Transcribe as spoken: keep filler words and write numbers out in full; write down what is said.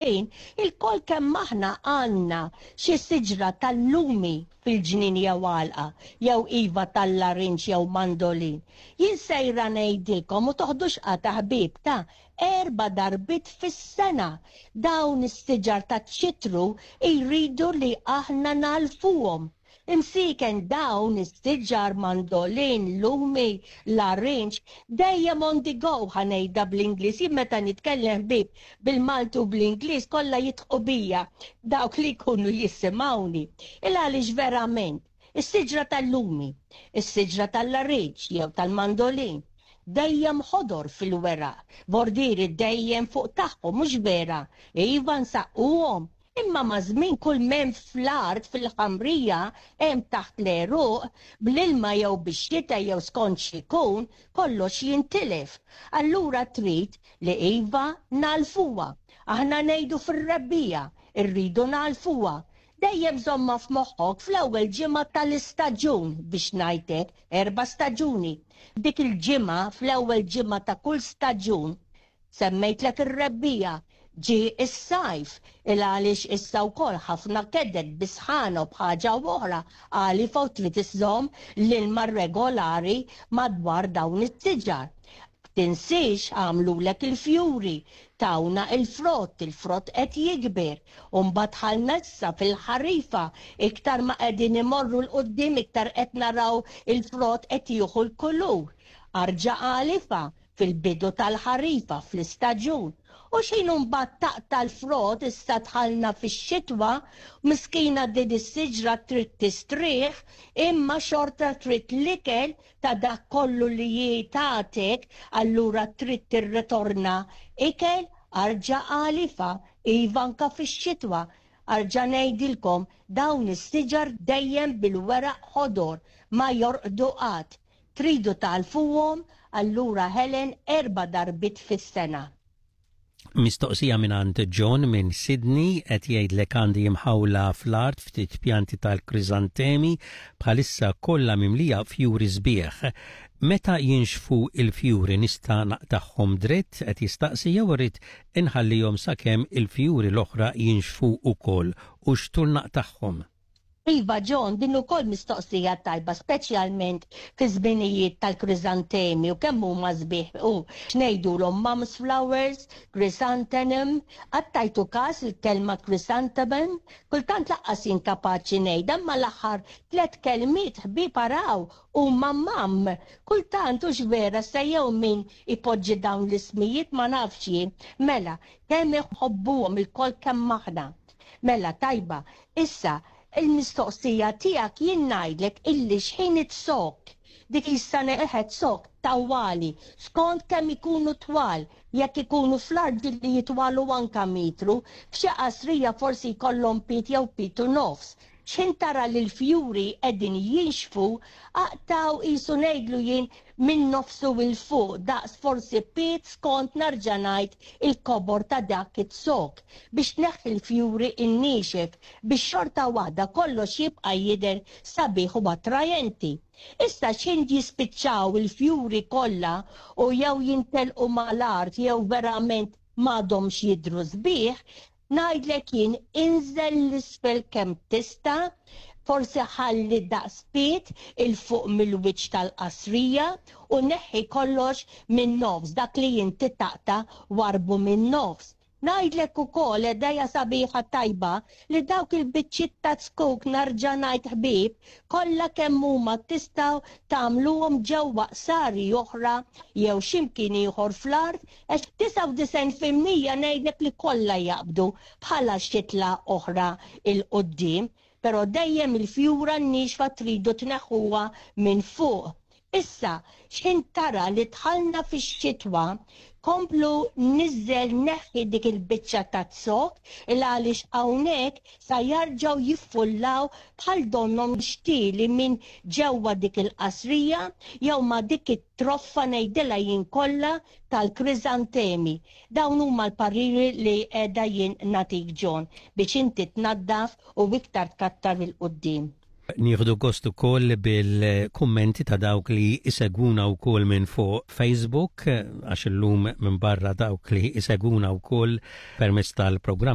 Ilkoll kemm aħna għandna xi siġra tal-lumi fil-ġnien jew għalqa, jew iva tal-larinġ jew mandolin. Jien sejra ngħidilkom u toħdux qata ħbieb ta' erba' darbiet fis-sena dawn is-siġar taċ-ċitru jridu li aħna nagħlfuhom. Imsiken dawn is-siġar mandolin, lumi, larinġ, dejjem on the go ħa ngħidha bl-Ingliż. Jien meta nitkellem ħbieb bil-Malti u bl-Ingliż kollha jidħqu bija dawk li jkunu jisimgħuni. Il għaliex verament, is-siġra tal-lumi, is-siġra tal-larinġ jew tal-mandolin, dejjem ħodor fil-weraq, bordiri dejjem fuq tagħhom, mhux vera? Iva nsaqquhom. Imma maż-żmien kull m'hemm fl-art fil-ħamrija hemm taħt l-għeruq bl-ilma jew bix-xita jew skont x'ikun kollox jintilef. Allura trid li iva nagħlfuha. Aħna ngħidu fir-rebbiegħa irridu nagħlfuha. Dejjem żommha f'moħħok fl-ewwel ġimgħa tal-istaġun biex ngħidlek erba' staġuni. Dik il-ġimgħa fl-ewwel ġimgħa ta' kull staġun semmejtlek ir-rebbiegħa ġie s-sajf il għaliex issa wkoll ħafna keded bisħana u b'ħaġa oħra għalif u trid iżżomm l-ilma regolari madwar dawn is-siġar. Tinsiex għamlulek il-fjuri, tawna il-frott, il-frott qed jikber. U mbagħad dħalna issa fil-ħarifa, iktar ma qegħdin imorru 'l quddiem iktar qed naraw il-frott qed jieħu l-kulur. Arġa' għalifa fil-bidu tal-ħarifa fl-istaġun. U x'ħin mbagħad taqta' l-frott issa dħalna fix-xitwa, miskina din is-siġra trid tistrieħ, imma xorta trid l-ikel ta' dak kollu li jitatek, allura trid tirritorna ikel arġa' għalifa, iva anka fix-xitwa. Arġa' ngħidilkom dawn is-siġar dejjem bil-weraq ħodor ma jorqdu qatt. Tridu tagħlfuhom allura Helen erba' darbiet fis-sena. Mistoqsija minn John minn Sydney qed jgħidlek għandi imħawla fl-art ftit pjanti tal-krizantemi bħalissa kollha mimlija fjuri sbieħ. Meta jinxfu il-fjuri nista' naqtagħhom dritt qed jistaqsi jew irrid inħallihom sakemm il-fjuri l-oħra jinxfu wkoll u x'tul naqtagħhom. Iva, John, din ukoll mistoqsija tajba, speċjalment fi żminijiet tal-krizantemi u kemm huma sbieħ u x'ngħidulhom mum's flowers, chrysanthemum, qatt tajtu każ il-kelma chrysanthemum, kultant lanqas jien kapaċi ngħidha, imma l-aħħar tliet kelmiet ħbieb araw huma mum. Kultant hux vera se jew min ipoġġi dawn l-ismijiet ma nafx jien. Mela, kemm iħobbuhom ilkoll kemm aħna. Mela tajba, issa il-mistoqsija tiegħek jien ngħidlek illi x'ħin iz-zokk, dik issa neħet zokk tawwali, skont kemm ikunu twal, jekk ikunu fl-art li jitwalu anka mitru, f'xi qasrija forsi jkollhom pied jew pied u nofs. X'ħin tara li l-fjuri qegħdin jinxfu, aqtgħu qisu ngħidlu jien minn nofsu 'l fuq, daqs forsi pied skont narġa' ngħid il-kobor ta' dak iz-zokk biex tneħħi l-fjuri n-niexef biex xorta waħda kollox jibqa' jidher sabiħ u attrajenti. Issa x'ħin jispiċċaw il-fjuri kollha u jew jintelqu mal-art jew verament m'għadhomx jidhru sbieħ, ngħidlek jien inżel 'l isfel kemm tista', forsi ħalli daqs pied 'il fuq mill-wiċċ tal-qasrija u neħħi kollox minn nofs, dak li inti taqta' warbu minn nofs. Ngħidlek ukoll idea sabiħa tajba li dawk il-biċċiet ta' zkuk narġa' ngħid ħbieb kollha kemm huma tistgħu tagħmluhom ġewwa qsari oħra jew x'imkien ieħor fl-art għax disgħa u disgħin fil-mija ngħidlek li kollha jaqbdu bħala xitla oħra 'l quddiem, però dejjem il-fjura n-niexfa tridu tneħħuha minn fuq. Issa, x'ħin tara li dħalna fix-xitwa, komplu niżżel neħħi dik il-biċċa ta' zokk il għaliex hawnhekk sa jarġgħu jiffullaw bħal donnhom xtieli minn ġewwa dik il-qasrija jew ma' dik it-troffa ngħidilha jien kollha tal-krizantemi. Dawn huma l-pariri li qiegħda jien nagħtik John biex inti tnaddaf u iktar tkattar 'il quddiem. Nieħdu gost ukoll bil-kummenti ta' dawk li isegwuna wkoll minn fuq Facebook, għax illum minn barra dawk li isegwuna wkoll permezz tal-programm